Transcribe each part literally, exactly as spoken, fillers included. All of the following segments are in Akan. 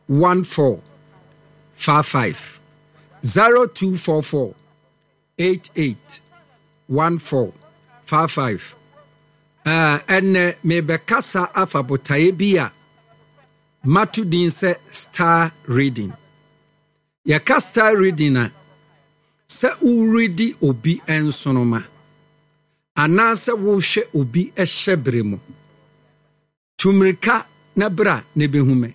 one four five five zero two four four eight eight one four five five. Ɛnɛ mebɛkasa afa botaeɛ bi a mato din sɛ star reading. Yɛka star reading a, sɛ woredi obi nsonoma anaasɛ wohwɛ obi hyɛ bere mu. Tu mmirika na bra na bɛhu me.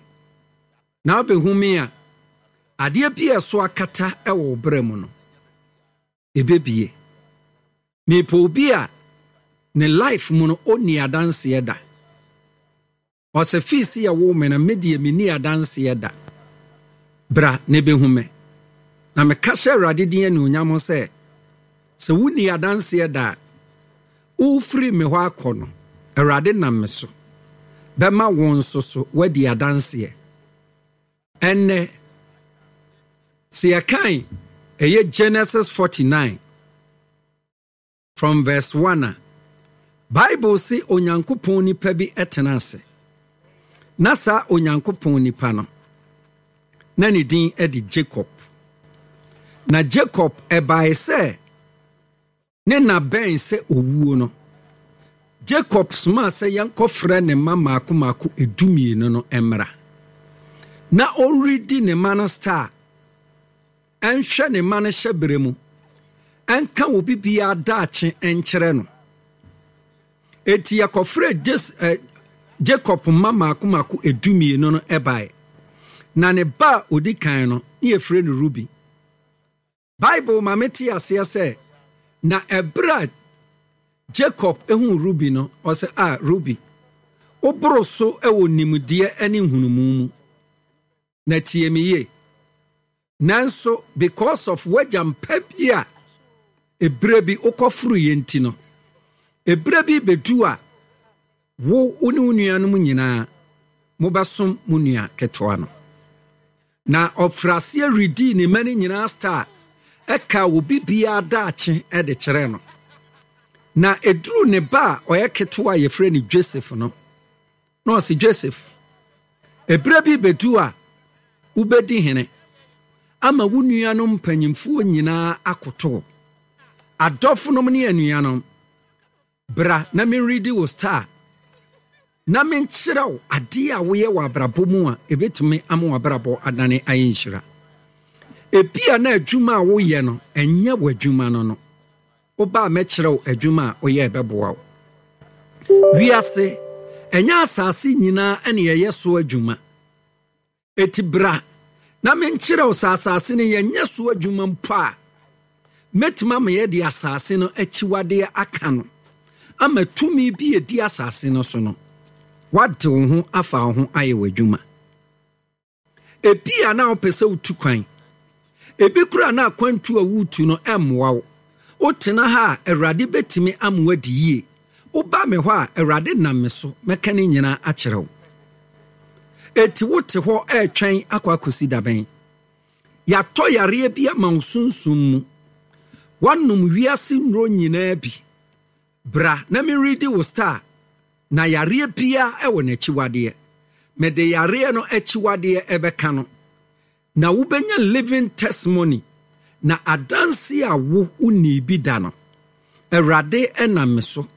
Na wobɛhu me a, adeɛ bi a ɛso akata wɔ wo berɛ mu no, ɛbɛbie. Mepɛ obi a ne life mu no ɔnni adanseɛ da. Ɔsɛ fii se yɛwoo me no, me deɛ menni adanseɛ da. Bra na bɛhu me. Na meka hyɛ Awurade din anuonyam sɛ, sɛ wonni adanseɛ da a, wofiri me hɔ akɔ no, Awurade nam me so bɛma wo nso so woadi adanseɛ. Ɛnnɛ, sɛ yɛkan ɛyɛ Genesis forty-nine from verse one a, Bible se Onyankopɔn nipa bi tena ase. Na saa Onyankopɔn nipa no, na ne din de Jacob. Na Jacob ɛbae sɛ ne na bɛn sɛ owuo no, Jacob somaa sɛ yɛnkɔfrɛ ne mma mmaako mmaako edumienu no mmra. Na ɔredi ne mma no star, ɛnhwɛ ne mma no hyɛberɛ mu, ɛnka obi biara daakye nkyerɛ no. Enti yɛkɔfrɛ Jes-, eh, Jacob mma mmaako mmaako edumienu no ɛbae. Na ne ba a odi kan no, ne yɛfrɛ no Ruben. Bible ma mete aseɛ sɛ, na ɛberɛ a Jacob huu Ruben no, ɔsɛ, a Ruben, woboro so wɔ nimdeɛ ne nhunumu mu. Na tie me yie. Nanso, because of w'agya mpa bi a ɛberɛ bi wokɔforoeɛ nti no, ɛberɛ bi bɛdu a wo, wo ne wo nuanom nyinaa mobɛsom mo nua ketewa no. Na ɔfiri aseɛ redii ne mma no nyinaa star, ɛka obi biara daakye de kyerɛɛ no. Na ɛduruu ne ba a ɔyɛ ketewa a yɛfrɛ no Joseph no, na ɔse, Joseph, ɛberɛ bi bɛdu a wobɛdi hene ama wo nuanom mpanyimfoɔ nyinaa akoto. Adɔfonom ne anuanom, bra na menredi wo star na menkyerɛ wo adeɛ a woyɛ wɔ abrabɔ mu a ɛbɛtumi ama w'abrabɔ adane ayɛ nhyira. Ebia na adwuma a woyɛ no, ɛnyɛ w'adwuma no no. Woba a mɛkyerɛ wo adwuma a woyɛ ɛbɛboa wo. Wiase, ɛnyɛ asase nyinaa ɛne ɛyɛ so adwuma. Eti bra na menkyerɛ wo sɛ asase no yɛnyɛ so adwuma mpo a, mɛtumi ama yɛde asase no akyiwadeɛ aka no ama tumi bi edi asase no so no, wade wo ho afa wo ho ayɛ w'adwuma. Ebi a na wopɛ sɛ wotu kwan. Ebi koraa na akwantu a wotu no ɛmmoa wo. Wotena ha a, Awurade bɛtumi ama woadi yie. Woba me hɔ a, Awurade nam me so mɛka ne nyinaa akyerɛ wo. Eti wote hɔ ɛretwɛn akɔ akɔsi dabɛn. Yɛatɔ yareɛ bi ama wo sunsum mu. Woanom wiase nnuro nyinaa bi. Bra na meredi wo star, na yareɛ biara ɛwɔ n'akyiwadeɛ. Mede yareɛ no akyiwadeɛ ɛbɛka no. Na wobɛnya living testimony, na adanse a wo wonni bi da no, Awurade ɛnam me so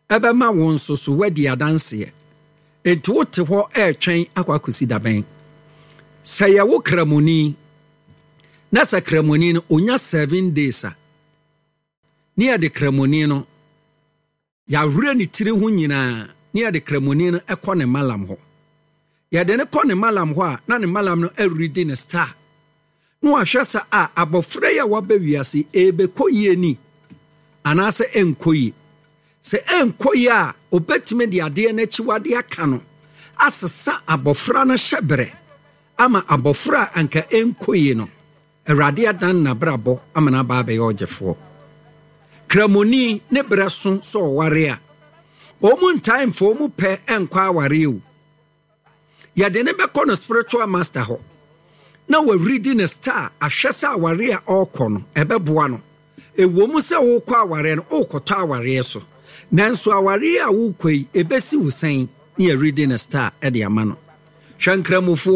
ɛbɛma wo nso so woadi adanseɛ. Enti wote hɔ ɛretwɛn akɔ akɔsi dabɛn. Sɛ yɛwo kramoni, na sɛ kramoni no onya seven days a, ne yɛde kramoni no yɛawerɛ ne tiri ho nyinaa, ne yɛde kramoni no ɛkɔ ne malam hɔ. Yɛde ne kɔ ne malam hɔ a, na ne malam no ɛredi ne star. Na wahwɛ sɛ a abɔfra yi a waba wiase ɛbɛkɔ yie ni anaasɛ ɛnkɔ yie. Sɛ ɛnkɔ yie a, obɛtumi de adeɛ no akyiwadeɛ aka no asesa abɔfra no hyɛberɛ ama abɔfra a anka ɛnkɔ yie no, Awurade adan n'abrabɔ ama n'aba abɛyɛ ɔgyefoɔ. Kramoni ne berɛ so sɛ ɔware a, wɔn ntae mfa wɔn pɛ nkɔ aware o. Yɛde ne bɛkɔ no spiritual master hɔ na wɔredi ne star ahwɛ sɛ aware a ɔrekɔ no ɛbɛboa no. Ɛwɔ mu sɛ wokɔ awareɛ no, wokɔtɔ awareɛ so. Nanso awareɛ a wokɔ yi, ɛbɛsi wo sɛn ne yɛredi ne star de ama no. Hwɛ nkramofoɔ.